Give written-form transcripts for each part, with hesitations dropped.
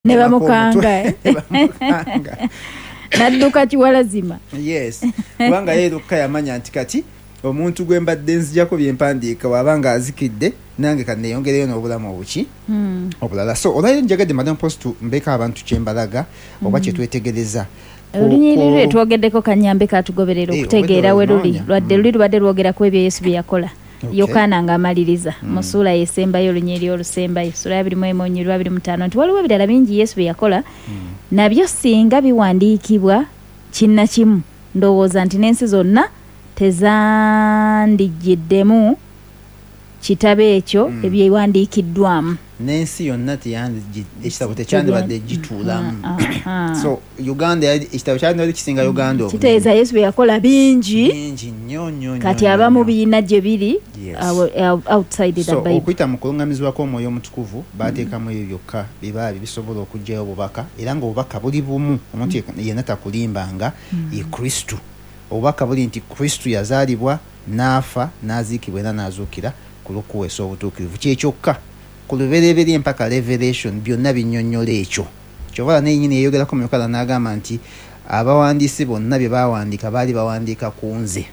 Ne bamukanga, eh? Ne bamukanga. Nadduka kiwalazima. Yes, kubanga ye Lukka yamanya nti kati omuntu gwe mbadde nzijako byempandiika waba nga azikidde, nange kaneyongereyo n'obulamu obuki obulala. So olwaliro njagadde, Madam Post, mbeeko abantu kyembalaga oba kyetwetegereza. Olunyiriri lwe twogeddeko kanyambe katugoberera okutegeera we luli. Obwedda Lwadde luli lubadde lwogera ku ebyo Yesu bye yakola. Yokaana ng'amaliriza mu ssuula yesembayo, olunyiriri olusembayo, ssuula ya 21 olunyiriri lwa 25, nti waliwo ebirala bingi Yesu bye yakola, nabyo singa biwandiikibwa kinnakimu, ndowooza nti n'ensi zonna tezandijjiddemu kitabo ekyo ebyewandiikiddwamu. N'ensi yonna ekitabo tekyandibadde gituulamu. So Uganda ekitabo kyandibadde kisinga Uganda obunene. Kitegeeza Yesu bye yakola bingi. Bingi nnyo nnyo nnyo, Kati nnyo, abamu nnyo. biyina gye biri outside the So Bible. okuyita mu kulungamizibwa kw'Omwoyo Omutukuvu, bateekamu ebyo byokka biba bisobola okuggyayo obubaka, era ng'obubaka buli bumu. Omuntu yenna takulimbanga, ye Kristu. Obubaka buli nti Kristu yazaalibwa, n'afa, n'aziikibwa era n'azuukira ku lw'okuweesa obutuukirivu. Kyekyokka ku lubereberye mpaka Revelation byonna binnyonnyola ekyo. Kyovala naye nyini yeyogerako mu Yokaana n'agamba nti abawandiisi bonna bye bawandiika baali bawandiika ku nze.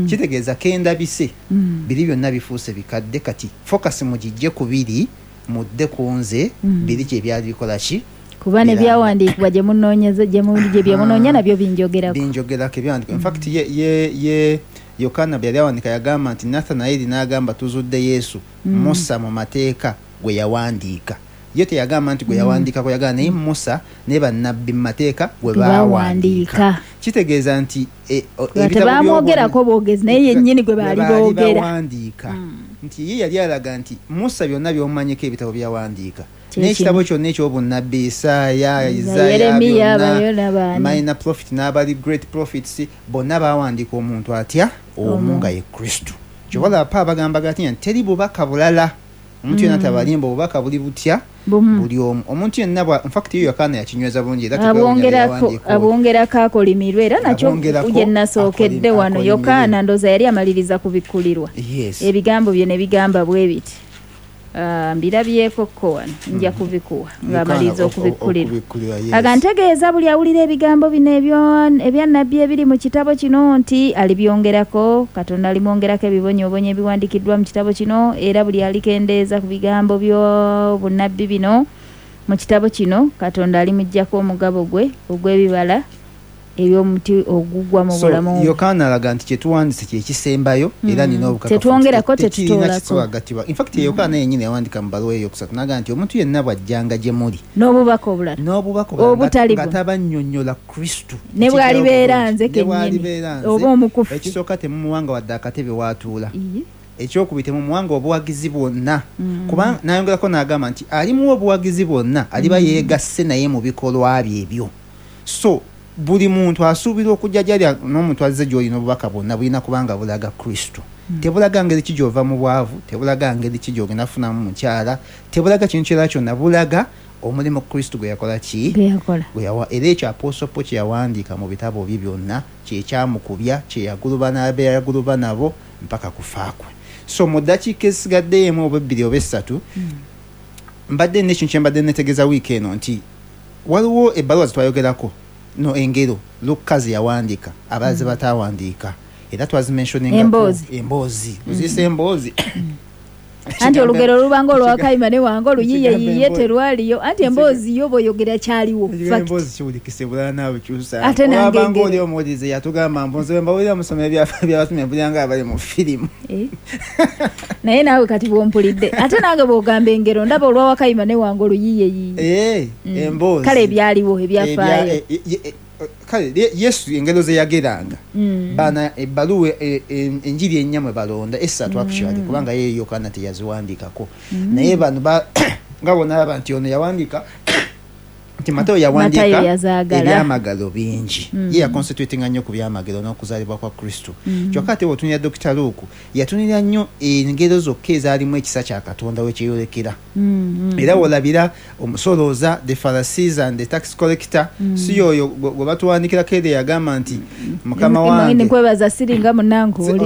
Kitegeeza kendabise, biri byonna bifuuse bikadde. Kati focus mugijje ku biri, mudde ku nze. Biri kye byali bikola ki? Kuba ne Biranga. byawandiikibwa gye munoonyeza, gye bye munoonya nabyo binjogerako. Binjogerako ebyawandiikibwa. In fact, ye Yokaana bwe yali awandiika yagamba nti Nathanaeri n'agamba, "Tuzudde Yesu, Musa mu mateeka gwe yawandiika." Ye teyagamba nti gwe yawandiikako, yagamba naye Musa ne bannabbi mu mateeka gwe Gwe baawandiika. bawandiika. Kitegeeza nti Nga ebitabo tebamwogerako bwogezi, naye yennyini gwe baali gwe baali boogera. bawandiika. Nti ye yali alaga nti Musa byonna by'omumanyiko ebitabo byawandiika, Kye n'ekitabo kino. kyonna eky'obunnabbi, Isaaya, Isaaya, Yeremiya, byonna, bayona baani. Minor prophet n'abali great prophets bonna bawandiika omuntu atya? Omu, nga ye Kristu. Kyobalaba pa abagamba gati nti teri bubaka bulala. Omuntu yenna tabalimba, obubaka buli butya? Bumu. Buli omu. Omuntu yenna bwa, in fact, ye Yokaana yakinyweza bulungi era tetwewuunya bye yawandiika oyo. Abwongerako akolimirwe, era nakyo Abwongerako gye nasookedde wano. akolimirwe. Yokaana ndowooza yali amaliriza kubikkulirwa. Ebigambo bye ne bigamba bwe biti. Mbirabyeko ko wano, nja kubikuwa ng'amaliriza Yokaana okubikkulirwa. Okubikkulirwa, yes. Aga ntegeeza buli awulira ebigambo bino ebya nnabbi ebiri mu kitabo kino nti alibyongerako, Katonda alimwongerako ebibonyoobonyo ebiwandiikiddwa mu kitabo kino, era buli alikendeeza ku bigambo by'obunnabbi bino mu kitabo kino, Katonda alimuggyako omugabo gwe ogw'ebibala eby'omuti ogugwa mu So, bulamu. Yokaana alaga nti kyetuwandiise kyekisembayo era nina obukakafu Tetwongerako, nti tekirina tetutoolako. kisobola. In fact, Yokaana yennyini yawandika mu bbaluwa eyokusatu n'agamba nti omuntu yenna bw'ajjanga gye muli n'obubaka obulala, n'obubaka obulala obutali nga buno, tabannyonnyola Kristu, ne bw'alibeera nze Ne kennyini bw'alibeera nze, oba omukufu, ekisooka temumuwanga wadde akatebe waatuula. Ekyokubiri, temumuwanga obuwagizi bwonna. Kuba nayongerako n'agamba nti alimuwa obuwagizi bwonna aliba yeegasse naye mu bikolwa bye ebyo. So buli muntu asuubira okujja gyali n'omuntu azze gy'olina obubaka bwonna bulina kubanga bulaga Kristo. Tebulaga ngeri ki gy'ova mu bwavu, tebulaga ngeri ki gy'ogenda kufunamu mukyala, tebulaga kintu kirala kyonna, bulaga omulimu Kristo gwe yakola ki? Gwe yakola. Gwe yawa. Era ekyo Apostle Paul kye yawandiika mu bitabo bye byonna kyekyamukubya, kyeyaguluba n'abeyaguluba nabo mpaka kufa kwe. So mu ddakiika ezisigaddeyo emu oba ebbiri oba essatu, mbadde nina ekintu kye mbadde netegeeza wiiki eno nti waliwo ebbaluwa zetwayogerako no engero Lukka ze yawandiika, abalala ze bataawandiika, era twazimentioningako. Emboozi. Emboozi oziyise emboozi. Anti olugero olubanga olwakayima ne wange oluyiye Ekigambo yiye emboozi. terwaliyo, anti emboozi yo bw'oyogera kyaliwo. Ekigambo Fact. emboozi kiwulikise bulala naawe kyusa. Ate nange Olwabanga engero. oli omuwulirize yatugamba mbu nze mbawulira musoma ebyabatume mpulira nga abali mu firimu. Naye naawe kati bw'ompulidde, ate nange bw'ogamba engero ndaba olwawakayima ne wange oluyiye yiye. Emboozi. Kale ebyaliwo ebyafaayo. Kale Yesu engero ze yageranga. Bana ebbaluwa enjiri ennya mwe balonda essatu actually, kubanga ye Yokaana teyaziwandiikako. Naye bano nga bonna alaba nti ono yawandiika Nti Matayo Matayo yawandiika yazaagala. Ebyamagero bingi. Ye yaconcentratinga nnyo ku byamagero n'okuzaalibwa kwa Kristo. Kyokka ate bw'otunulira Dr Luke, yatunulira nnyo engero zokka ezaalimu ekisa kya Katonda wekyeyolekera. Era wolabira omusolooza, the Pharisees and the tax collector, si yoyo gwe batuwandikirako eri yagamba nti, "Mukama wange, Nkwebaza siringa munange oli.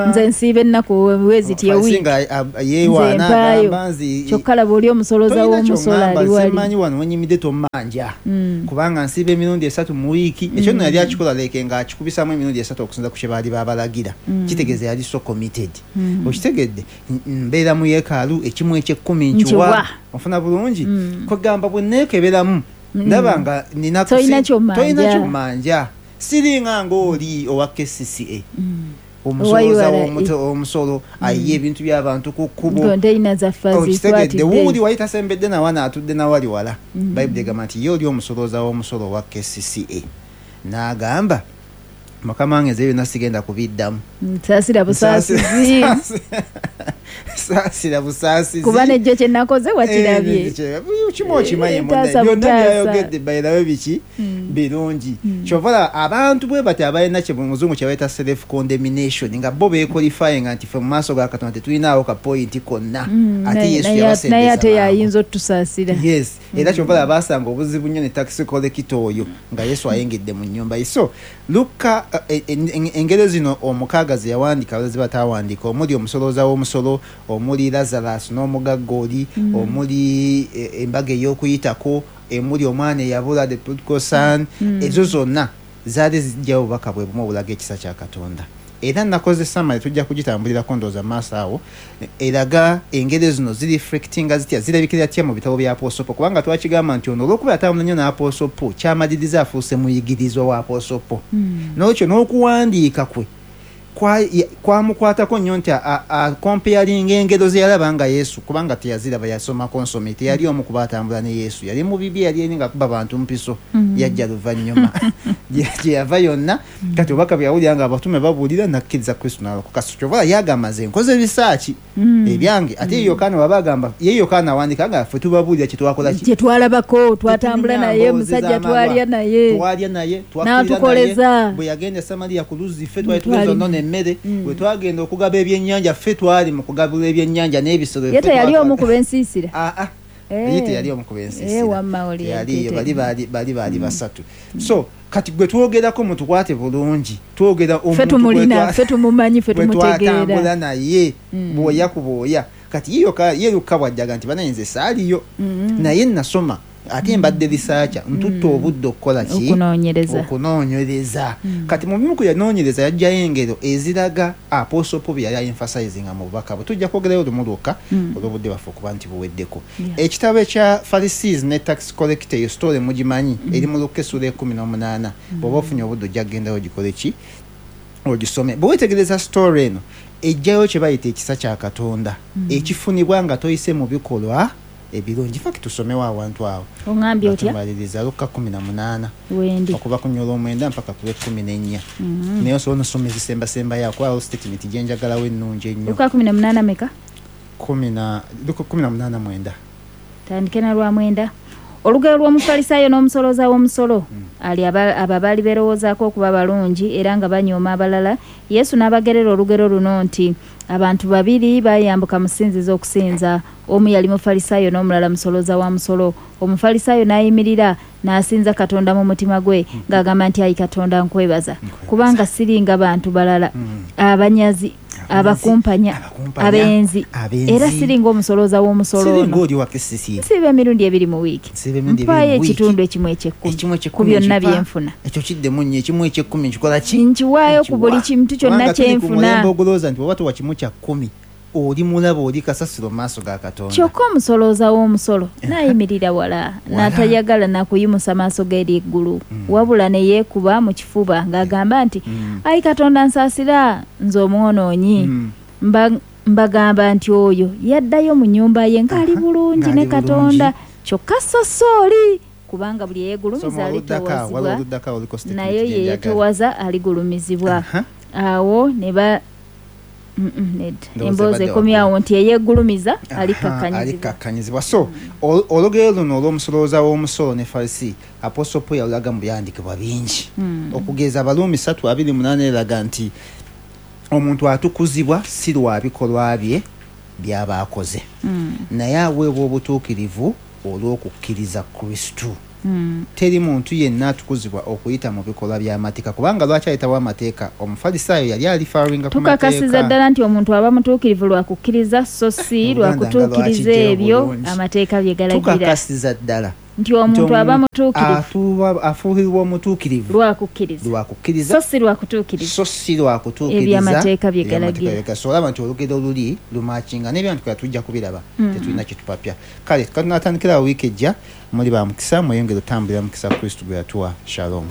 Nze nsiiba ennaku weziti Farisi ewiiki. nga yeewaana, Nze mpaayo. agamba nzi Kyokka laba oli omusolooza tolina w'omusolo kyoŋŋamba, ali wali. simanyi wano wenyimidde tommanja, kubanga nsiiba emirundi 3 mu wiiki." Ekyo nno yali akikola leke ng'akikubisamu emirundi 3 okusinza ku kye baali babalagira. Kitegeeza yali so committed. Okitegedde? Mbeera mu yeekaalu, ekimu eky'ekkumi nkiwa. Nkiwa. Ofuna bulungi? Kwegamba bwe neekeberamu ndaba nga nina Tolina ky'ommanja. Tolina ky'ommanja, siringa ng'oli owa KCCA, omusolooza Owa URA. omusolo ayiye ebintu by'abantu ku kkubo. Konteyina zaffe Okitegedde? azikwatidde. Wuuli wali tasembedde nawana, atudde nawali wala. Bayibuli egamba nti ye oli omusolooza w'omusolo owa KCCA n'agamba, "Mukama wange, nze byonna sigenda kubiddamu." Saasira busaasizi. Saasira busaasizi. Kuba nejjo kye nakoze wakirabye. Eh, kimu okimanyi Eh, munne, taasa byonna butaasa. byayogedde bayirabe biki birungi. Kyova olaba abantu bwe bati abalina kye muzungu kye bayita self condemnation, nga bo beequalifyinga nti ffe mu maaso ga Katonda tetulinaawo ka point konna, ate Yesu Naye yabasembeza ate mangu. yayinza otusaasira. Yes, era kyova olaba basanga obuzibu nnyo ne tax collector oyo nga Yesu ayingidde mu nnyumba ye. So Luka, engero zino 6 ze yawandiika, abaza batawandiika, omuli omusolooza w'omusolo, omuli Lazarus n'omugagga oli, omuli embaga ey'okuyitako, emuli omwana eyabula, the prodigal son, ezo zonna zaali zijjawo obubaka bwe bumu obulaga ekisa kya Katonda. Era nakoze summary, tujja kugitambulirako ndowooza mu maaso awo, eraga engeri zino zireflectinga zitya, zirabikira tya mu bitabo bya Apostle Paul, kubanga twakigamba nti ono olw'okuba yatambula nnyo n'Apostle Paul, kyamaliriza afuuse muyigirizwa wa Apostle Paul. N'olwekyo n'okuwandiika kwe kwamukwatako nnyo nti akomparinga engero ze yalaba nga Yesu, kubanga teyaziraba, yasomako nsome, teyali omu kuba atambula ne Yesu, yali mu bibi, yali eri nga kuba bantu mpiso. Yajja luvannyuma gye yava yonna. Kati obubaka bwe yawulira nga abatume babuulira, nakkiriza Kristo n'alokoka. So kyova yagamba, "Nze nkoze research ebyange." Ate ye Yokaana waba agamba, ye Yokaana awandika nga ffe tubabuulira kye twakola ki? Kye twalabako, twatambula Tetunyumya naye, mboozi musajja z'amalwa. twalya naye. Twalya naye, twakkirira N'atukoleza. naye. Bwe yagenda e Samaliya ku luzzi, ffe twali Twali- tugeza onona emmere. Bwe twagenda okugaba ebyennyanja, ffe twali mu kugabula ebyennyanja n'ebisolo. Ye Ffe teyali omu ku bensiisira. Ah, ah. Eh. Ye teyali omu ku bensiisira. Eh, wamma oli Teyaliyo, ate bali basatu. So kati gwe twogerako mutukwate bulungi, twogera Ffe omuntu tumulina, ffe tumumanyi, ffe bwe tumutegeera. twatambula naye, bwoya ku bwoya. Kati ye Luka bwajjaga nti, "Banaye, nze saaliyo, naye nasoma, ate mbadde researcher, ntutte obudde okukola ki?" Okunoonyereza. Okunoonyereza. Kati mu bimu ku yanoonyereza, yajjayo engero eziraga Apostle Paul bye yali emphasizinga mu bubaka bwe. Tujja kwogerayo lumu lwokka olw'obudde bwaffe okuba nti buweddeko. Ekitabo ekya Pharisees ne tax collector, eyo story mugimanyi, eri mu Luka essula 18. Bw'oba ofunye obudde, ojja kugendayo ogikole ki, ogisome. Bwe weetegereza story eno, ejjayo kye bayita ekisa kya Katonda ekifunibwa nga toyise mu bikolwa ebirungi. Faki tusomewo awantu awo. Oŋambye otya? Tumaliriza Luka 18. Wendi. Okuva ku nyola 9 mpaka ku lw'e-14. Naye osobola nosoma ezisembasembayo, kuba statement gyenjagalawo ennungi ennyo. Luka 18 meka? Luka 18 9. Tandike na lwa 9. Olugero lw'omufalisaayo n'omusolooza w'omusolo. Ali abo baali beerowoozaako okuba balungi era nga banyooma abalala. Yesu n'abagerera olugero luno nti, abantu babiri bayambuka mu ssinzizo okusinza. Omu yali mufalisaayo n'omulala musolooza wa musolo. Omufalisaayo n'ayimirira n'asinza Katonda mu mutima gwe ng'agamba nti, "Ayi Katonda, nkwebaza Nkwebaza. kubanga siringa bantu balala, abanyazi, abakumpanya, Abakumpanya, abenzi, abenzi. era siringa omusolooza w'omusolo Siringa ono. oli wa KCCA. Nsiiba emirundi 2 mu wiiki, Nsiiba emirundi 2 mpaayo mu wiiki. ekitundu ekimu eky'ekkumi Ekimu ku eky'ekkumi byonna nkipa. byenfuna." Ekyo kiddemu nnyo, ekimu eky'ekkumi nkikola ki? Nkiwaayo ku buli Nkiwa. kintu kyonna Kubanga tuli ku kyenfuna. mulembe ogulowooza nti bw'oba towa 1/10, oli mulaba, oli kasasiro mu maaso ga Katonda. Kyokka omusolooza w'omusolo n'ayimirira wala, n'atayagala nakuyimusa maaso ge eri eggulu, wabula ne yeekuba mu kifuba ng'agamba nti, "Ayi Katonda, nsaasira nze omwonoonyi." Mbagamba nti oyo yaddayo mu nnyumba ye ng'ali bulungi Ng'ali ne Katonda, bulungi. kyokka so so oli, kubanga buli eyeegulumiza Soma oluddako awo, waliwo alitoowazibwa, oluddako awo, oliko statement naye gye njagala. yeyeetowaza aligulumizibwa. Awo ne ba Nedda. Ndowooza Emboozi ebadde ekomyawo nti eyeggulumiza Aha, alikkakkanyizibwa. Alikkakkanyizibwa. So olugero luno olw'omusolooza w'omusolo ne Farisi, Apostle Paul yalulaga mu byandikibwa bingi. Okugeza Abaruumi 3:28 eraga nti omuntu atukuzibwa si lwa bikolwa bye by'aba akoze, naye aweebwa obutuukirivu olw'okukkiriza Kristo. Teri muntu yenna atukuzibwa okuyita mu bikolwa by'amateeka, kubanga lwaki ayitawo amateeka? Omufalisaayo yali alifaringa ku Tukakasiza mateeka. ddala nti omuntu aba mutuukirivu lwa kukkiriza, so si lwa Oluganda nga kutuukiriza lwakijjayo ebyo bulungi. amateeka bye galagira. Tukakasiza ddala nti omuntu aba mutuukirivu afuulibwa omutuukirivu lwa kukkiriza, lwa kukkiriza, so si lwa kutuukiriza so si lwa kutuukiriza ebyamateeka bye ebyamateeka galagira. bye galagira. So olaba nti olugero luli lumakinga n'ebyandikibwa tujja kubiraba, tetulina kyetupapya. Kale katunatandikira awo wiiki ejja. Muli ba mukisa, mweyongere otambulira mukisa Kristo gwe yatuwa. Shalom.